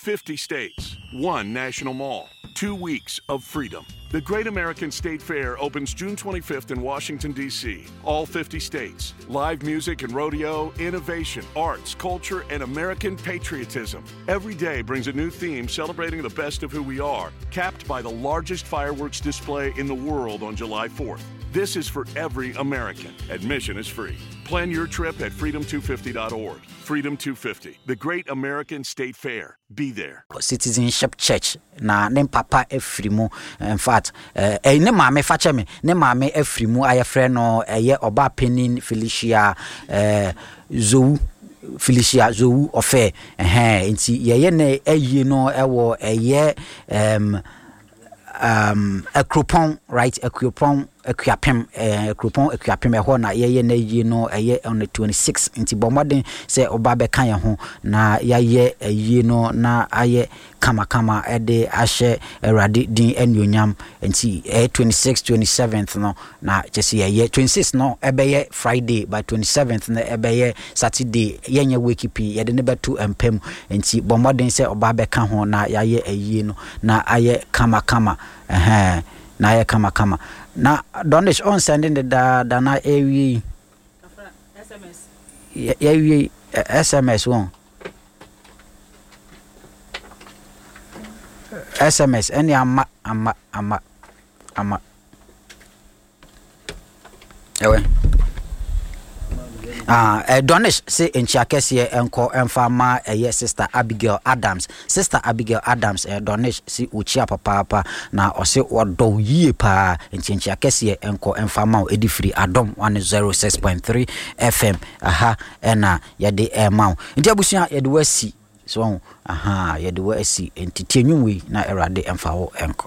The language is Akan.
50 states, one national mall, two weeks of freedom. The Great American State Fair opens June 25th in Washington, D.C. All 50 states, live music and rodeo, innovation, arts, culture, and American patriotism. Every day brings a new theme celebrating the best of who we are, capped by the largest fireworks display in the world on July 4th. This is for every American. Admission is free. Plan your trip at freedom250.org. Freedom 250, the Great American State Fair. Be there. Citizenship Church na ne papa afiri mu in fact eh, eh, ne maame fa kyɛ me ne maame afiri mu a yɛfrɛ no ɛyɛ ɔbaa panin Felicia eh, Zowu Felicia Zowu ɔfɛ ɛhɛn nti yɛyɛ ne ayie no ɛwɔ ɛyɛ um, um, Akuropɔn, right? Akuropɔn, Akuapem, eh, Akuropɔn, Akuapem, ɛhɔ na yɛyɛ no ayie no, ɛyɛ on the 26. Nti bɔ mmɔden sɛ ɔba bɛka yɛn ho na yɛayɛ ayie no na ayɛ kamakama ɛde ahyɛ Awurade din anuonyam. Nti ɛyɛ 26, 27th no na kyɛ sɛ yɛyɛ 26 no ɛbɛyɛ Friday, by 27th no ɛbɛyɛ Saturday. Yɛnyɛ wake pii, yɛde no bɛto mpa mu. Nti bɔ mmɔden sɛ ɔba bɛka ho na yɛayɛ ayie no. Na ayɛ kama kama ɛhɛn na ayɛ kama kama na Donish on sɛnde ne daa da na yɛawie yi yɛawie yi SMS wɔn SMS ɛne ama ama ama ama. Ɛwɛ. Ah, eh, Donish se nkyia kɛseɛ nkɔ mfa ma ɛyɛ Sister Abigail Adams. Sister Abigail Adams, eh, Donish se wɔkyia papaapa na ɔse wɔdɔ wo yie paa. Nti nkyia kɛseɛ nkɔ mfa ma wo ɛde firi Adom 106.3 FM aha ɛna yɛde ɛma wo. Nti abusua yɛde wo asi so ho aha yɛde wo asi nti tie nnwom wei na Awurade mfa wo nkɔ.